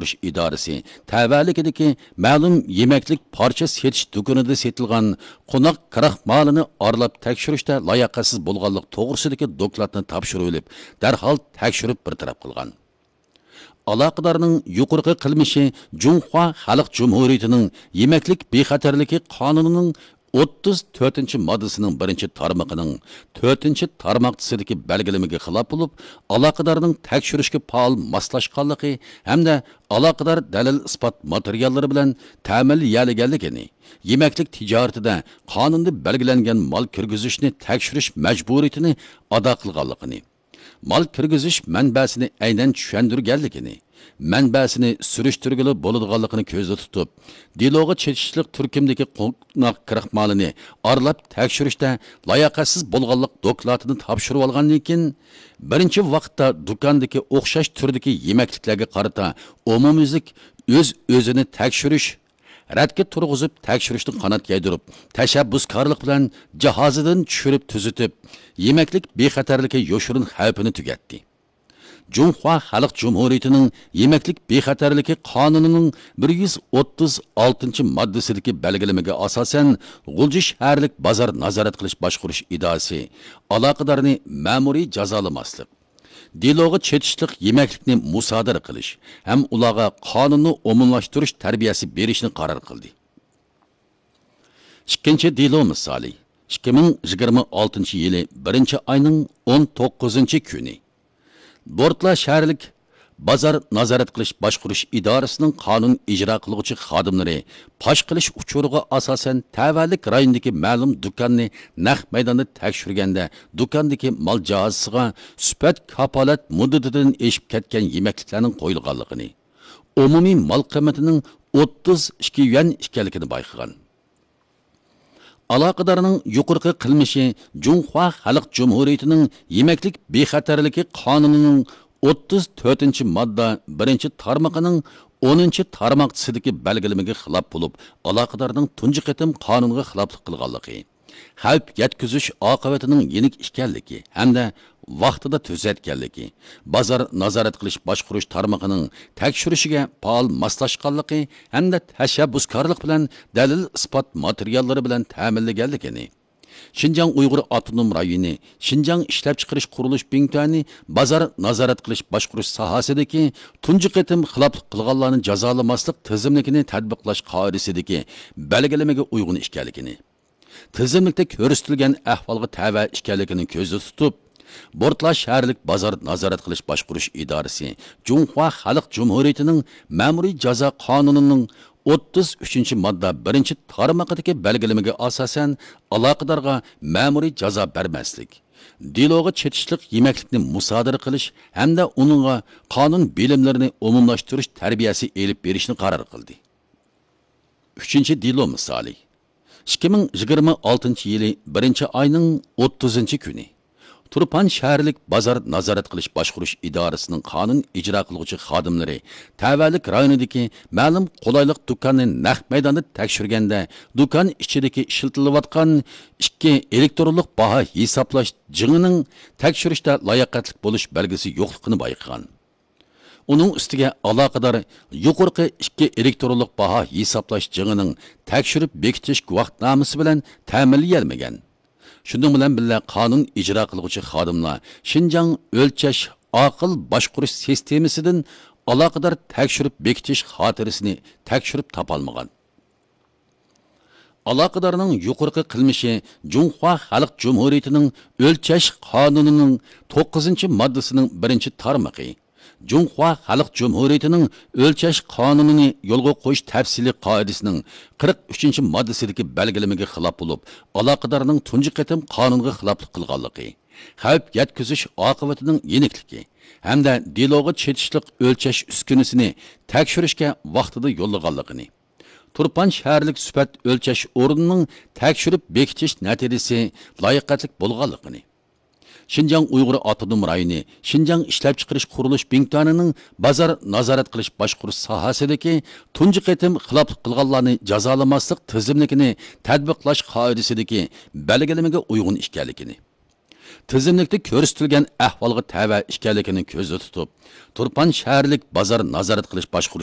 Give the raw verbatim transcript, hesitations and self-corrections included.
باشقۇرۇش ئىدارىسى تەۋەلىكىدىكى مەلۇم يېمەكلىك پارچە سېتىش دۇكىنىدا سېتىلغان قوناق كراخمالىنى ئارىلاپ تەكشۈرۈشتە لاياقەتسىز بولغانلىق توغرىسىدىكى دوكلاتنى تاپشۇرۇۋېلىپ، دەرھال تەكشۈرۈپ بىر تەرەپ قىلغان. ئالاقىدارنىڭ يۇقىرىقى قىلمىشى جۇڭخۇا خەلق جۇمھۇرىيىتىنىڭ يېمەكلىك بىخەتەرلىكى قانۇنىنىڭ ئوتتۇز تۆتىنچى ماددىسىنىڭ بىرىنچى تارمىقىنىڭ تۆتىنچى تارماقچىسىدىكى بەلگىلىمىگە خىلاپ بولۇپ، ئالاقىدارنىڭ تەكشۈرۈشكە پائال ماسلاشقانلىقى ھەمدە ئالاقىدار دەلىل-ئىسپات ماتېرىياللىرى بىلەن تەمىنلىيەلىگەنلىكىنى، يېمەكلىك تىجارىتىدە قانۇندا بەلگىلەنگەن مال كىرگۈزۈشنى تەكشۈرۈش مەجبۇرىيىتىنى ئادا قىلغانلىقىنى، مال كىرگۈزۈش مەنبەسىنى ئەينەن چۈشەندۈرگەنلىكىنى، مەنبەسىنى سۈرۈشتۈرگىلى بولىدىغانلىقىنى كۆزدە تۇتۇپ، دېلوغا چېتىشلىق تۈركۈمدىكى قوناق كىراخمالىنى ئارىلاپ تەكشۈرۈشتە لاياقەتسىز بولغانلىق دوكلاتىنى تاپشۇرۇۋالغاندىن كېيىن، بىرىنچى ۋاقىتتا دۇكاندىكى ئوخشاش تۈردىكى يېمەكلىكلەرگە قارىتا ئومۇميۈزلۈك ئۆز-ئۆزىنى تەكشۈرۈش، رەتكە تۇرغۇزۇپ تەكشۈرۈشتىن قانات يايدۇرۇپ، تەشەببۇسكارلىق بىلەن جاھازىدىن چۈشۈرۈپ تۈزىتىپ، يېمەكلىك بىخەتەرلىكى يوشۇرۇن خەۋپىنى تۈگەتتى. جۇڭخۇا خەلق جۇمھۇرىيىتىنىڭ يېمەكلىك بىخەتەرلىكى قانۇنىنىڭ بىر يۈز ئوتتۇز ئالتىنچى ماددىسىدىكى بەلگىلىمىگە ئاساسەن، غۇلجا شەھەرلىك بازار نازارەت قىلىش باشقۇرۇش ئىدارىسى ئالاقىدارنى مەمۇرىي جازالىماسلىق، دېلوغا چېتىشلىق يېمەكلىكنى مۇسادىرە قىلىش ھەم ئۇلارغا قانۇننى ئومۇملاشتۇرۇش تەربىيەسى بېرىشنى قارار قىلدى. ئىككىنچى دېلو مىسالى، ئىككى مىڭ يىگىرمە ئالتىنچى يىلى بىرىنچى ئاينىڭ ئون توققۇزىنچى كۈنى. بورتلا شەھەرلىك بازار نازارەت قىلىش باشقۇرۇش ئىدارىسىنىڭ قانۇن ئىجرا قىلغۇچى خادىملىرى پاش قىلىش ئۇچۇرىغا ئاساسەن، تەۋەلىك رايونىدىكى مەلۇم دۇكاننى نەق مەيداندا تەكشۈرگەندە، دۇكاندىكى مال جاھازىسىغا سۈپەت كاپالەت مۇددىتىدىن ئېشىپ كەتكەن يېمەكلىكلەرنىڭ قويۇلغانلىقىنى، ئومۇمىي مال قىممىتىنىڭ ئوتتۇز ئىككى يۈەن ئىكەنلىكىنى بايقىغان. ئالاقىدارنىڭ يۇقىرىقى قىلمىشى جۇڭخۇا خەلق جۇمھۇرىيىتىنىڭ يېمەكلىك بىخەتەرلىكى قانۇنىنىڭ ئوتتۇز تۆتىنچى ماددا بىرىنچى تارمىقىنىڭ ئونىنچى تارماقچىسىدىكى بەلگىلىمىگە خىلاپ بولۇپ، ئالاقىدارنىڭ تۇنجى قېتىم قانۇنغا خىلاپلىق قىلغانلىقى، خەۋپ يەتكۈزۈش ئاقىۋىتىنىڭ يېنىك ئىكەنلىكى ھەمدە ۋاقتىدا تۈزەتكەنلىكى، بازار نازارەت قىلىش باشقۇرۇش تارمىقىنىڭ تەكشۈرۈشىگە پائال ماسلاشقانلىقى ھەمدە تەشەببۇسكارلىق بىلەن دەلىل-ئىسپات ماتېرىياللىرى بىلەن تەمىنلىگەنلىكىنى، شىنجاڭ ئۇيغۇر ئاپتونوم رايونى شىنجاڭ ئىشلەپچىقىرىش قۇرۇلۇش بىڭتۈەنى بازار نازارەت قىلىش باشقۇرۇش ساھەسىدىكى تۇنجى قېتىم خىلاپلىق قىلغانلارنى جازالىماسلىق تىزىملىكىنى تەتبىقلاش قائىدىسىدىكى بەلگىلىمىگە ئۇيغۇن ئىكەنلىكىنى، تىزىملىكتە كۆرسىتىلگەن ئەھۋالغا تەۋە ئىكەنلىكىنى كۆزدە تۇتۇپ، بورتلا شەھەرلىك بازار نازارەت قىلىش باشقۇرۇش ئىدارىسى جۇڭخۇا خەلق جۇمھۇرىيىتىنىڭ مەمۇرىي جازا قانۇنىنىڭ ئوتتۇز ئۈچىنچى ماددا بىرىنچى تارمىقىدىكى بەلگىلىمىگە ئاساسەن، ئالاقىدارغا مەمۇرىي جازا بەرمەسلىك، دېلوغا چېتىشلىق يېمەكلىكنى مۇسادىرە قىلىش ھەمدە ئۇنىڭغا قانۇن بىلىملىرىنى ئومۇملاشتۇرۇش تەربىيەسى ئېلىپ بېرىشنى قارار قىلدى. ئۈچىنچى دېلو مىسالى. ئىككى مىڭ يىگىرمە ئالتىنچى يىلى بىرىنچى ئاينىڭ ئوتتۇزىنچى كۈنى تۇرپان شەھەرلىك بازار نازارەت قىلىش باشقۇرۇش ئىدارىسىنىڭ قانۇن ئىجرا قىلغۇچى خادىملىرى تەۋەلىك رايونىدىكى مەلۇم قولايلىق دۇكاننى نەق مەيداندا تەكشۈرگەندە، دۇكان ئىچىدىكى ئىشلىتىلىۋاتقان ئىككى ئېلېكترونلۇق باھا ھېسابلاش جىڭىنىڭ تەكشۈرۈشتە لاياقەتلىك بولۇش بەلگىسى يوقلۇقىنى بايقىغان. ئۇنىڭ ئۈستىگە ئالاقىدار يۇقىرىقى ئىككى ئېلېكترونلۇق باھا ھېسابلاش جىڭىنىڭ تەكشۈرۈپ بېكىتىش گۇۋاھنامىسى بىلەن تەمىنلىيەلمىگەن. شۇنىڭ بىلەن بىللە، قانۇن ئىجرا قىلغۇچى خادىملار شىنجاڭ ئۆلچەش ئاقىل باشقۇرۇش سىستېمىسىدىن ئالاقىدار تەكشۈرۈپ بېكىتىش خاتىرىسىنى تەكشۈرۈپ تاپالمىغان. ئالاقىدارنىڭ يۇقىرىقى قىلمىشى جۇڭخۇا خەلق جۇمھۇرىيىتىنىڭ ئۆلچەش قانۇنىنىڭ توققۇزىنچى ماددىسىنىڭ بىرىنچى تارمىقى، جۇڭخۇا خەلق جۇمھۇرىيىتىنىڭ ئۆلچەش قانۇنىنى يولغا قويۇش تەپسىلىي قائىدىسىنىڭ قىرىق ئۈچىنچى ماددىسىدىكى بەلگىلىمىگە خىلاپ بولۇپ، ئالاقىدارنىڭ تۇنجى قېتىم قانۇنغا خىلاپلىق قىلغانلىقى، خەۋپ يەتكۈزۈش ئاقىۋىتىنىڭ يېنىكلىكى ھەمدە دېلوغا چېتىشلىق ئۆلچەش ئۈسكۈنىسىنى تەكشۈرۈشكە ۋاقتىدا يوللىغانلىقىنى، تۇرپان شەھەرلىك سۈپەت ئۆلچەش ئورنىنىڭ تەكشۈرۈپ بېكىتىش نەتىجىسى لاياقەتلىك بولغانلىقىنى، شىنجاڭ ئۇيغۇر ئاپتونوم رايونى شىنجاڭ ئىشلەپچىقىرىش قۇرۇلۇش بىڭتۈەنىنىڭ بازار نازارەت قىلىش باشقۇرۇش ساھەسىدىكى تۇنجى قېتىم خىلاپلىق قىلغانلارنى جازالىماسلىق تىزىملىكىنى تەتبىقلاش قائىدىسىدىكى بەلگىلىمىگە ئۇيغۇن ئىكەنلىكىنى، تىزىملىكتە كۆرسىتىلگەن ئەھۋالغا تەۋە ئىكەنلىكىنى كۆزدە تۇتۇپ، تۇرپان شەھەرلىك بازار نازارەت قىلىش باشقۇرۇش